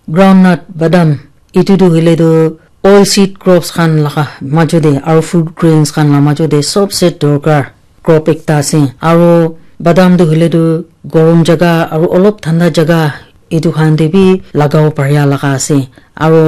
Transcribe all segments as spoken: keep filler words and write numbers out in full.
Groundnut, badam, etu tu hoile tu oil seed crops khan laga majo te aru food grains khan la majo te sobse dorkar crop ekta ase. Aru badam tu hoile tu gorom jaga aru olop thanda jaga etu khan te bi lagabo paria laga ase. Aru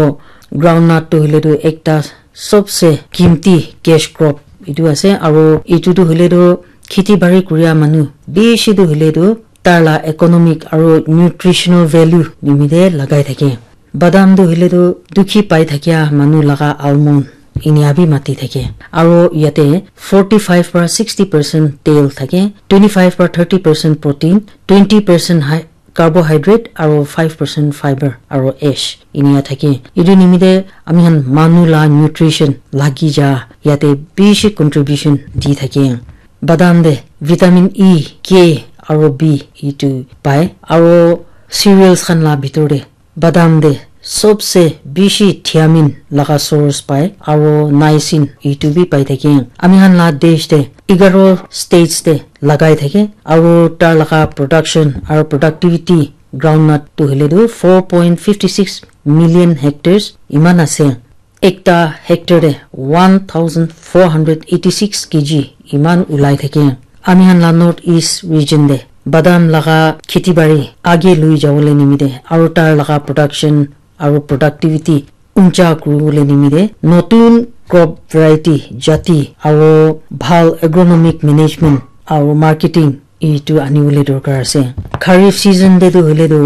groundnut tu hoile tu ekta sobse kimti cash crop etu ase. Aru etu tu hoile tu kheti bari kuria manu bishi tu hoile tu tar la economic aru nutritional value nimite lagai thake. Badam tu hoile tu dukhi pai thakia manu laga almond inia bi mati thake. Aru yate forty five para sixty percent tel thake, twenty five para thirty percent protein, twenty percent high carbohydrate aru five percent fiber aru ash inia thake. Etu nimite ami khan manu la nutrition lagi ja yate bishi contribution di thake. Badam te vitamin E, K aru B etu pai. Aru cereals khan la bitor te badam te sobse bishi thiamin laga source pai aru niacin etu bi pai thake. Ami khan la desh te egaro states te lagai thake aru tar laga production aru productivity groundnut tu hoile tu four point fifty six million hectares iman ase. Ekta hectare te one thousand four hundred eighty six K G iman ulai thake. Ami khan la North East region te badam laga kheti bari age lui jabole nimite aru tar laga production aru productivity uncha kuribole nimite notun crop variety jati aru bhal agronomic management aru marketing etu anibole dorkar ase. Kharif season te tu hoile tu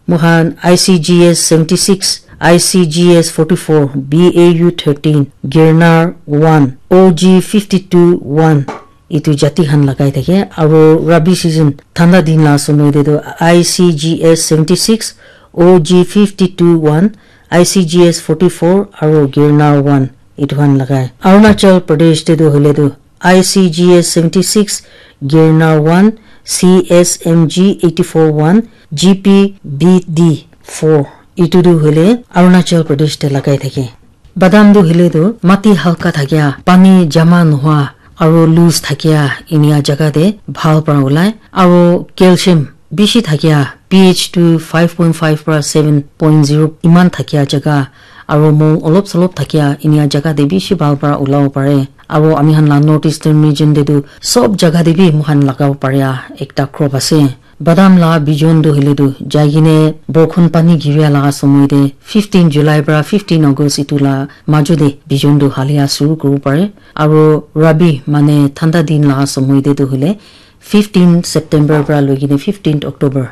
moikhan I C G S seventy six, I C G S forty four, B A U thirteen, Girnar one, O G fifty two one etu jati khan lagai thake. Aru Rabi season thanda din la somoi te tu I C G S seventy six, O G fifty two one, I C G S forty four aru Girnar one etu khan lagai. Arunachal Pradesh te tu hoile tu I C G S seventy six, Girnar one, C S M G eighty four one, G P B D four etu tu hoile Arunachal Pradesh te lagai thake. Badam tu hoile tu mati halka thakia, pani jama nohua aru loose thakia inia jaga te bhal para ulai aru calcium bishi thakia pH tu five point five para seven point zero iman thakia jaga aru mong olop solop thakia inia jaga te bishi bhal para ulabo pare. Aru ami khan la North Eastern region te tu sob jaga te bi moikhan lagabo paria ekta crop ase. Badam la bijon tu hoile tu jai kene borkhon pani giria laga somoi te fifteen July para fifteen August etu la majo te bijon tu halia suru kuribo pare. Aru Rabi mane thanda din laga somoi te tu hoile fifteen September para loi kene fifteen October